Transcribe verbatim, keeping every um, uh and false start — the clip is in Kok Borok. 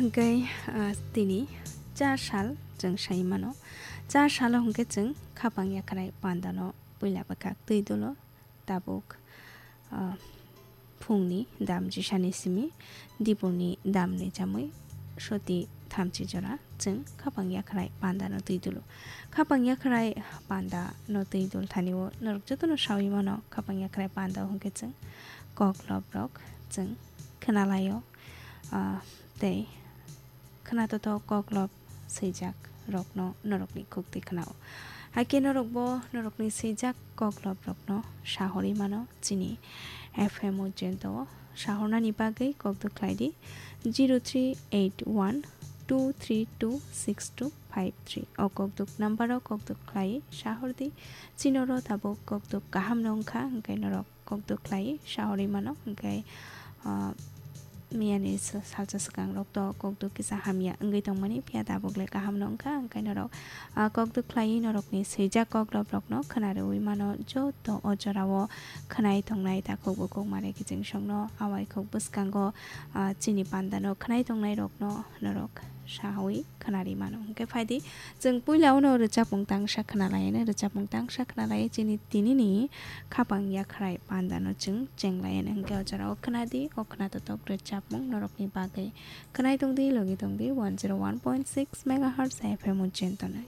Hwnkhe, ah, tini char sal chwng sai mano. Char salo hwnkhe chwng khapang yakhrai pandano puila bwkhak twi dolo tabuk, ah, phungni dam jisani simi diporni damni chamwi soti thamchi jora chwng khapang yakhrai pandano twi dolo. Khapang yakhrai pandano twi dol thani o norok jotono sawi mano khapang yakhrai panda hwnkhe chwng kok lob rok chwng khwnalaio, ah, tei khwnatotok kok lob swijak rokno norokni khukti khwnao. Hakhe norokbo norokni swijak kok lob rokno sahorwi mano chini F M Ujjainto o. Sahornani bagwi kokduk khlai di zero three eight one two three two six two five three. O kokduk number o kokduk khlai sahor di. Chini oro tabuk kokduk kaham no wngkha, hwnkhe norok kokduk khlai sahorwi mano, hwnkhe, ah, miyani sa-, salsa swkang rok to kokduk kisa hamya wngwi tongmani, phiya tabuk le kaham no wngkha, hwnkhe norok, ah, kokduk khlai norokni swijak kok lob rokno khwnarwi mano, joto o jorao khwnai tongnai takhuk bukhuk mare kiching songno awai khuk bwskango, ah, chini pandano khwnai tongnai rokno norok sawi khwnari mano. Hwnkhe phaidi, chwng puila uno rwchapmung tangsa khwnalaiyano, rwchapmung tangsa khwnalai chini tinini khapang yakhrai pandano chwng chenglaiyano. Hwnkhe o jorao khwnadi, o khwnatotok rwchapmung norokni bagwi. Khwnai tongdi, logi tongdi one zero one point six megahertz F M Ujjainto no.